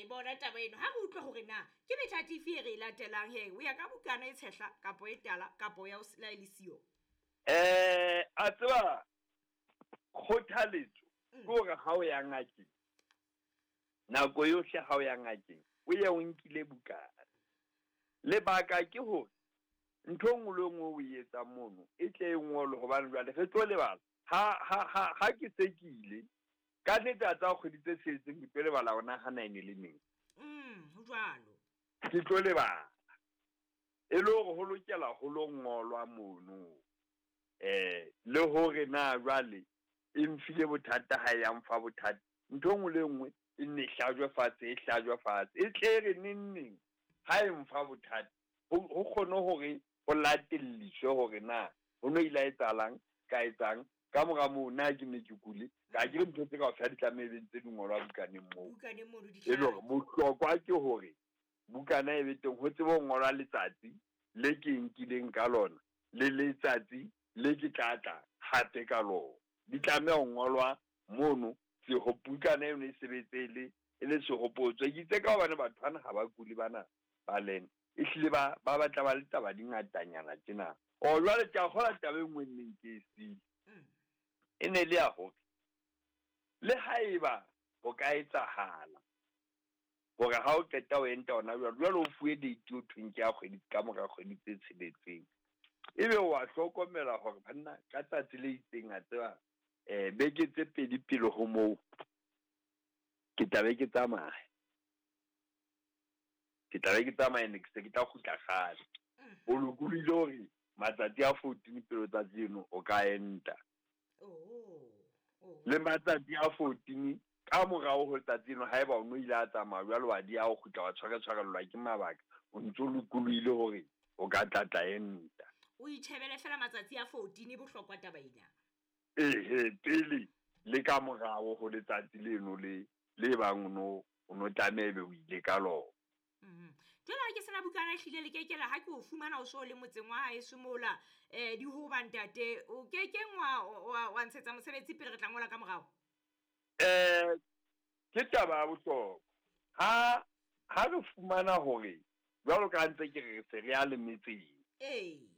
e bona taba eno. Ha re utlwa hore na ke methati efe e re e latelang he o ya ka bukana e tshehla kapo e tala kapo ya la e le siyo. A tseba kgothaletso ke hore ha o ya ngakeng, nako yohle ha o ya ngakeng o ye o nkile bukana. Lebaka ke hore ntho e nngwe le nngwe o e etsang mono e tle e ngolwe, hobane jwale re tlo lebala. Ha ke se ke ile ka nnete, a tsa kgwedi tse tsheletseng ke tlo lebala hore na ha na e ne le neng. Ho jwalo. Ke tlo lebala. E le hore ho lokela ho lo ngolwa mono. Le hore na jwale e mfile bothata ha e ya mfa bothata. Ntho e nngwe le nngwe e nne e hlajwe fatshe, e hlajwe fatshe. E tle re neng neng ha e mfa bothata, ho kgone hore ho latelliswe hore na ho no ile ha etsahalang, ka etsang, ka mora moo na ke ne ke kule. Ka ke re ntho tse kaofela di tlameha ebe ntse di ngolwa bukaneng moo. Bukaneng mono di E le hore hlake. bohlokwa ke hore bukana e be teng, ho tsebe ho ngolwa letsatsi le ke nkileng ka lona le letsatsi le ke tla tla hape ka lona. Di tlameha ho ngolwa mono, bukana eno e sebetse e le sehopotso. Ke itse ka hobane batho bana ha ba kule bana ba lena, ehlile ba batla ba le taba di ngatanyana tjena. O jwale ke a kgola taba e nngwe neng ke e siile. E ne le ya hore le haeba ho ka etsahala hore ha o qeta ho enta hona jwale, jwale o fuwe date o thweng ke ya kgwedi ka mora kgwedi tse tsheletseng, ebe wa hlokomela hore banna ka tsatsi le itseng a tseba beke tse pedi pele ho moo ke tla be ke tsamaya. Ke tla be ke tsamaya ne ke se ke tla kgutla kgale. O lokolohile hore matsatsi a 14 pele tsatsi eno o ka enta. Le matsatsi a 14 ka morao ho letsatsi eno haeba o no ile a tsamaya jwale wa di ya ho kgutla wa tshware-tshwarellwa ke mabaka, o ntso lokolohile hore o ka tlatla enta. O itjhebele fela matsatsi a 14, bohlokwa taba ena. Ehe, pele le ka morao ho letsatsi leno le le bang o no tlameha ebe o ile ka lona. Jwale ha ke sena bukana ehlile le keke la ha ke o fumana o so le motseng wa haeso mola, di hoba ntate, o kekeng wa ntshetsa mosebetsi pele re tla ngola ka morao? Ke taba ya bohlokwa. Ha re fumana hore jwalo ka ntse ke re se re ya le metseng.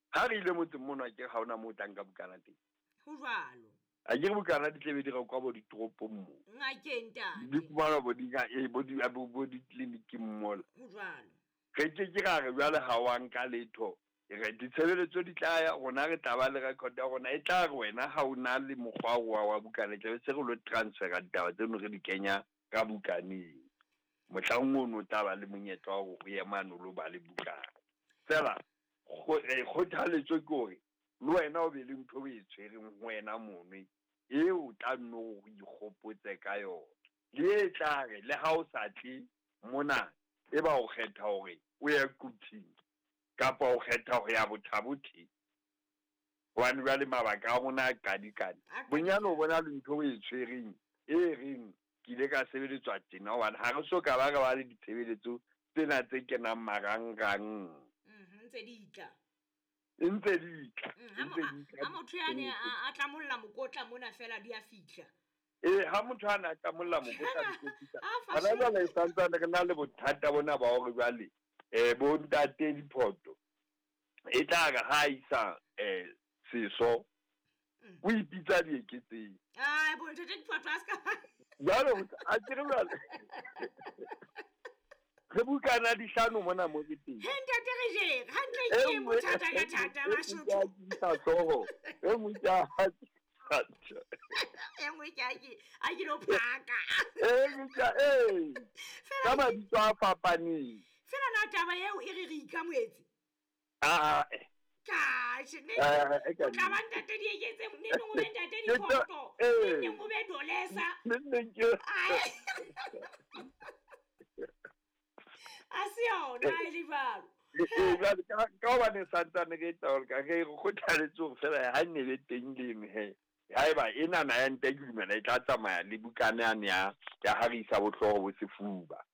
Ha re ile motseng mona ke ha hona moo o tla nka bukana teng. Ho jwalo. A ke re bukana di tlebe di rekwa bo ditoropong moo. Ngakeng ntate. Di fumanwa bo di bo di bo ditleliniking mola. Ho jwalo. Re ke ke ra re jwale ha wa nka letho. Re ditshebeletso di tla ya rona, re tla ba le record ya rona e tla re wena ha o na le mokgwa wa bukana, tla be se re lo transfera ditaba tseno re di kenya ka bukaneng. Mohlang ono o tla ba le monyetla wa hore o ye mane o lo ba le bukana. Fela kgothaletso ke hore le wena o be le ntho o e tshwereng ho wena mono eo o tla nno o ikgopotse ka yona. Le e tla re le ha o sa tle mona, e ba o kgetha hore o ye Quthing kapa o kgetha ho ya Bothabothe. Hobane jwale mabaka a rona a qadikane. Bonyane o bona le ntho o e tshwereng e reng ke ile ka sebeletswa tjena, hobane ha re so ka ba re ba le ditshebeletso tsena tse kenang marangrang. Ntse di tla. Ntse di tla. Ha motho ya ne a tlamolla mokotla mona fela di a fihla. Ha motho a ne a tlamolla mokotla di tlo fihla. Hona jwale e santsane re na le bothata bona ba hore jwale bo ntate Diphoto e tla re ha isa seso o ipitsa dieketseng. Bo ntate Diphoto a ska. Jwale a ke re jwale re bukana dihlano mona mo ke teng. He ntate re jere hantle ke bothata ka thata Basotho. E nngwe ke a E nngwe ke a ke lo phaka. E nngwe ke ka mabitso a fapaneng. Fela na taba eo e re re ikamoetse? Ka ne o tla ba ntate Dieketseng, ne neng o be ntate Diphoto, ne neng o be Dolesa. Ne neng ke A se yona e le jwalo. Jwale ka hobane santsane re etsa hore ka re kgothaletse hore fela ha nne be teng leno he. Haeba enana ya nte ke dumela e tla tsamaya le bukana yane ya ha re isa bohlooho bo sefuba.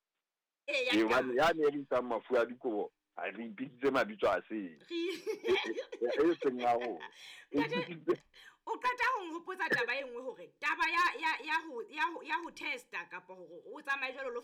Hobane ya ne re isang mafu a dikobo, ha re ipitsitse mabitso a seng. E seng a rona. O qeta ho nhopotsa taba e nngwe hore taba ya ho testa kapa hore o tsamaye jwalo lo